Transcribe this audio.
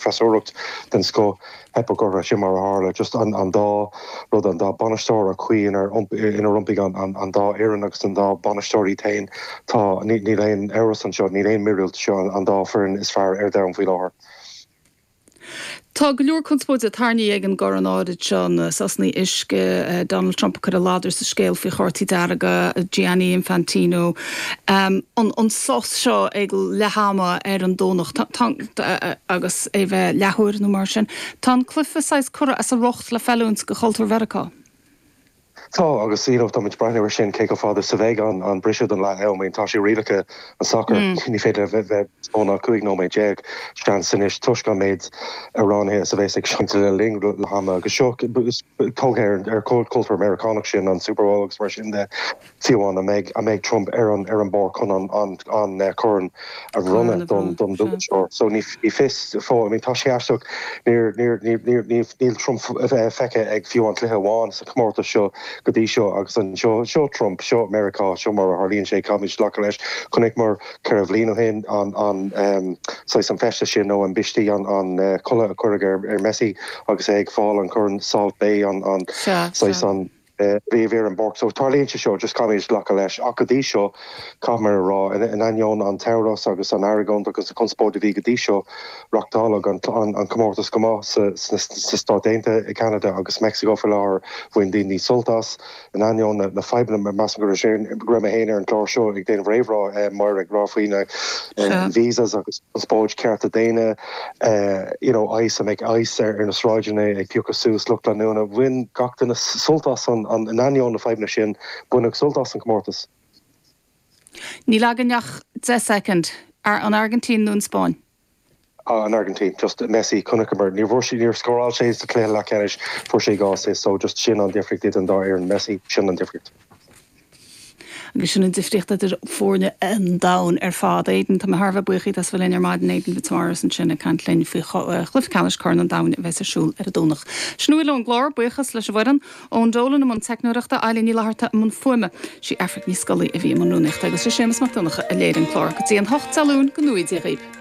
Freasúracht den scoth, theipeadh orthu, sin mar a tharla. Just an dá rud, an dá bainisteoir, an chaoi inar iompaigh an dá fhoireann agus an dá bainisteoir iad féin, tá, níl aon amhras anseo, níl aon mhíorúilt, seo an dá foireann is fearr ar domhan faoi láthair. Tá go leor conspóide tarraingthe ag an gcorn áirid seo, na sosanna uisce, Donald Trump ag cur a ladar sa scéal faoi chártaí dearga, Gianni Infantino, an sos seo ag leath ama ar an Domhnach agus é bheith leathuair nó mar sin. Tá an cluiche saghas curtha as a riocht le feiliúint do chultúr Mheiriceá. Tá, agus you know táimid ag breathnú air sin cé chomh fada is a bheidh an an briseadh don leath am, I mean tá sé rialacha an sacair, ní féidir a bheith níos mó ná 15 nóiméad seans anois toisc an méid amhránaithe is a bheas ag seinnt le linn leath ama agus seo tógtha ar ar cultúr Meiriceánach sin an Super Bowl agus mar sin de. Fiú amháin an mbeidh an mbeidh Trump ar an ar an bpáirc chun an an an corn a bhronnadh don don bhuaiteoir. So ní ní fios fós. I mean tá sé aisteach níor níor níor níor níl níl Trump feicthe ag fiú amháin cluiche amháin sa chomórtas seo go dtí seo agus an seo seo Trump seo Meiriceá seo mar a tharlaíonn sé caithfimid glacadh leis. Chonaiceamar 4 bhliain ó shin an an saghas an feisteas sin nó an bisti an an culaith a cuireadh ar ar Messi agus é ag fáil an corn Salt Bae an an saghas an bhí ar an bpáirc. So tarlaíonn sé seo, just caithfimid glacadh leis. Ach go dtí seo, caithfidh mé a rá, in ainneoin an t-amhras agus an argóint agus an chonspóid a bhí go dtí seo, reachtáladh an comórtas go maith sna Stáit Aontaithe, i gCeanada agus Meicsiceo faoi láthair. Bhain daoine sult as, in ainneoin na fadhbanna. Measaim go raibh mé féin ar an gclár seo ag déanamh réamhrá, Máire, ag rá faoi na visas agus conspóid cearta daonna, you know, ICE, an mbeidh ICE ar na sráideanna ag piocadh suas lucht leanúna. Bhain gach duine sult as an, in ainneoin na fadhbanna sin, baineadh sult as an chomórtas. Níl againn ach 10 soicind. An Airgintín nó an Spáinn? An Airgintín. Just Messi, chonaiceamar, níor bhfuair sé, níor scóráil sé sa chluiche leathcheannais, fuair sé 2 assist, so just sin an difríocht idir an dá fhoireann. Messi, sin an difríocht. Agus sin an difríocht idir foirne an domhain ar fad. Aidan, tá mé thar a bheith buíoch díot as bheith linn ar maidin. Aidan Fitzmaurice ansin ag caint linn faoi chluiche ceannais Chorn an Domhain a bheas ar siúl ar an Domhnach. Sin a bhfuil ón gclár. Buíochas leis an bhfoireann. Eoin Dolan i mbun teicneoireachta, Eilín Ní Fhlatharta i mbun fuaime. Sí Aifric Ní Scolaí a bhí i mbun rúnaíochta agus sé Séamus Mac Donncha a léirigh an clár. Go dtí an 8 Dé Luain, go ngnóthaí Dia dhaoibh.